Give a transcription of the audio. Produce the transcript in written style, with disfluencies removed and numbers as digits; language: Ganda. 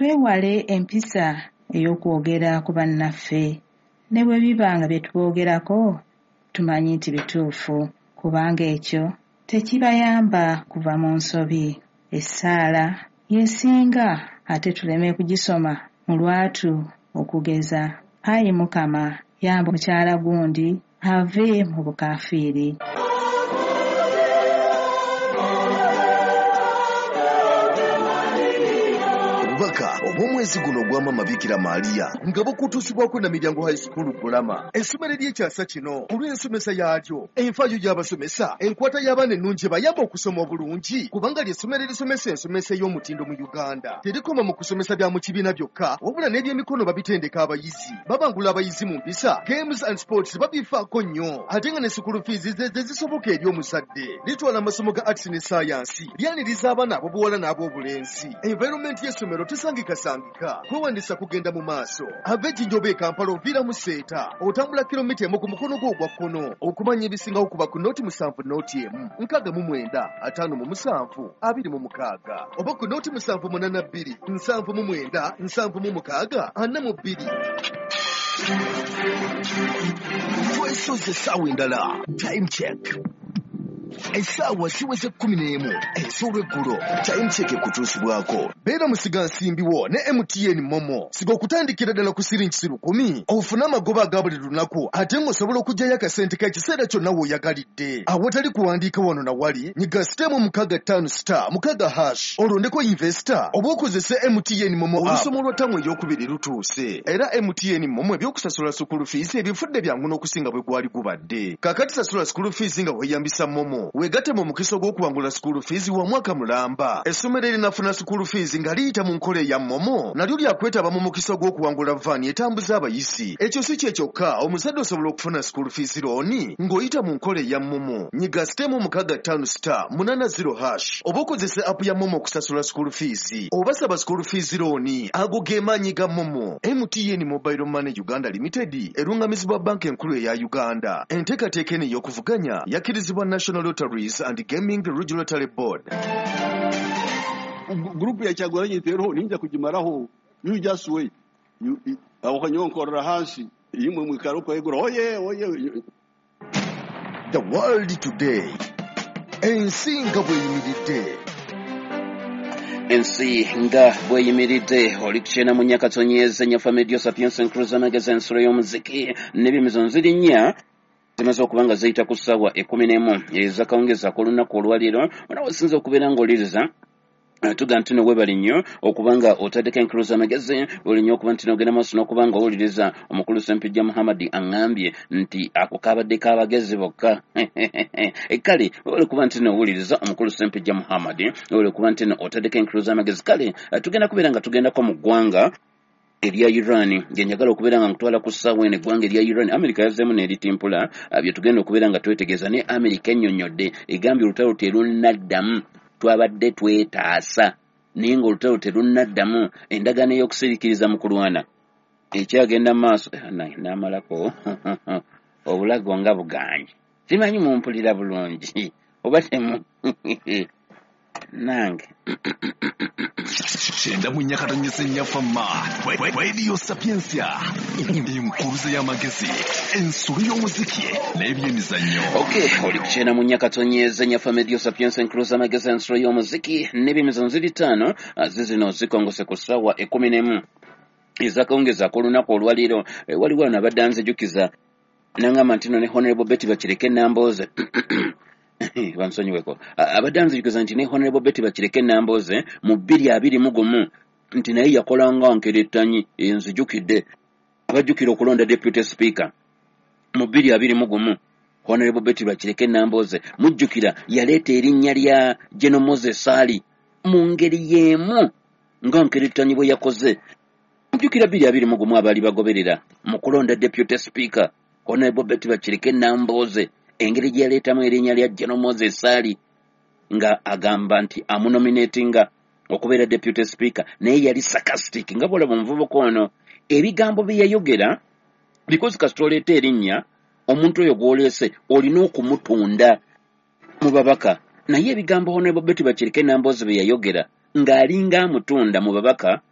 Twewale empisa ey'okwogera ku bannaffe ne bwe biba nga bye tuboogerako tumanyi nti bituufu, kubanga ekyo tekibayamba kuva mu nsobi. Essaala y'esinga ate tuleme kugisoma mu lwatu okugeza, Ayi Mukama yamba mukyala gundi ave mu bukaafiiri. Obubaka obw'omwezi guno ogwa Maama Bikira Maria nga bukutuusibwako Namiryango High School Bulama, essomero ery'ekyasa kino olw'ensomesa yaalyo, enfaayo y'abasomesa, enkwata y'abaana ennungi ebayamba okusoma obulungi, kubanga ly'essomero erisomesa ensomesa ey'omutindo mu Uganda. Terikoma mu kusomesa bya mu kibiina byokka, wabula n'ebyemikono babitendeka abayizi, babangula abayizi mu mpisa, games and sports babifaako nnyo, ate nga ne school fees ze zisoboka eri omuzadde. Litwala amasomo ga arts ne science, lyaniriza abaana ab'obuwala n'ab'obulenzi. Environment y'essomero tesangikasangika. Kwewandiisa kugenda mu maaso. Ava e Jinja oba e Kampala oviira mu Seeta, otambula kilomita 1 ku mukono gwo ogwa kkono. Okumanya ebisingawo kuba ku 0 7 0 1 69 57 26 oba ku 0 7 8 2 79 76 42. Twesoze essaawa endala. Time check. Essaawa ziweze 11 ez'olweggulo. Time check ekutuusibwako. Beera musigansimbi wo ne MTN MoMo. Siga okutandikira ddala ku siringi 1,000 ofune amagoba aga buli lunaku, ate ng'osobola okuggyayo akasente k'ekiseera kyonna w'oyagalidde awatali kuwandiika wano na wali. Nyiga *656*6# olondeko invest oba okozese MTN MoMo app. Olusoma olwa ttamu ey'okubiri lutuuse, era MTN MoMo ebyokusasula school fees ebifudde byangu n'okusinga bwe gwali gubadde. Kaakati sasula school fees nga weeyambisa MoMo, weegatte mu mukisa ogw'okuwangula school fees wa mwaka mulamba. Essomero erinafuna school fees nga liyita mu nkola eya MoMo nalyo lyakwetaba mu mukisa ogw'okuwangula van etambuza abayizi. Ekyo si kye kyokka, omuzadde osobola okufuna school fees loan ng'oyita mu nkola eya MoMo. Nyiga *658*80# oba okozese app ya MoMo okusasula school fees oba saba school fees loan. Ago ge maanyi ga MoMo. MTN Mobile Money Uganda Limited erungamizibwa Banka Enkulu eya Uganda. Enteekateeka eno ey'okuvuganya yakkirizibwa National Lotteries and Gaming Regulatory Board. Group ya Kyagulanyi teroho, ninja kugimaraho. You just wait. Aho kanyonkorera hansi imwe mwikara ukwegura oye oye. The World Today, ensi nga bw'eyimiridde. Ensi nga bweyimiridde, oli kukyena mu nyakatonyeza nyafa Medio Sapiens Cruiser Magazine, ensulo y'omuziki n'ebyemizano. Ziri 4 zimaze okuba nga ziyita ku ssaawa 11 ezakawungezi ak'olunaku olwaleero. Ona wasinza okubeera ng'oliriza, tuga nti no webali nnyo okuba nga otaddeko enkuluza amagezi, webali nnyo okuba nti nogenda maaso n'okuba nga owuliriza. Omukulu Sempijja Muhammadi aŋŋambye nti ako kabadde k'abagezi bokka. Kale webale kuba nti nowuliriza omukulu Sempijja Muhammadi, webale kuba nti no otaddeko enkuluza amagezi. Kale tugenda kubeera nga tugendako mu ggwanga erya Iran, gye njagala okubeera nga nkutwala ku ssaawa eno. Eggwanga erya Iran, Amerika yazzeemu n'eritimpula. Bye tugenda okubeera nga twetegeeza ne Amerika ennyonnyodde, egambye olutalo terunnaddamu, twabadde twetaasa naye ng'olutalo terunnaddamu, endagaano ey'okusiriikiriza mu kulwana ekyagenda mu maaso. N'amalako obulago nga buganye, simanyi mumpulira bulungi oba temu nange. 94.4 Fama Radio Sapientia, enkuruza y'amagezi, ensolo y'omuziki n'ebyemizannyo. Okay, oli kukyena mu nyakatonyeza nyafa Medio Sapientia, enkuluza amagezi, ensolo y'omuziki n'ebyemizannyo. Ziri 5 zizino zikongose ku ssaawa 11 ezakawungezi ak'olunaku olwaleero. Waliwo wano abadde anzijukiza nangamba nti no ne Honorable Betty Bakireke Nambooze, bansonyiweko, abadde anzijukiza nti ne Honorable Betty Bakireke Nambooze mu 2021 nti naye yakolanga nkerettanyi. Nzijukidde, abajjukira okulonda deputy speaker mu 2021, Honorable Betty Bakireke Nambooze, mujjukira yaleeta erinnya lya General Moses Ali mu ngeri y'emu nga nkerettanyi bwe yakoze. Mujjukira 2021 abaali bagoberera mu kulonda deputy speaker, Honorable Betty Bakireke Nambooze engeri gye yaleetamu erinnya lya General Moses Ali nga agamba nti amunominatinga okubeera deputy speaker, naye yali sarcastic nga bwolaba omuvubuka ono ebigambo bye yayogera, because kasita oleeta erinnya, omuntu oyo gw'oleese olina okumutunda mu babaka. Naye ebigambo Honorable Betty Bakireke Nambooze bye yayogera ng'alinga amutunda mu babaka.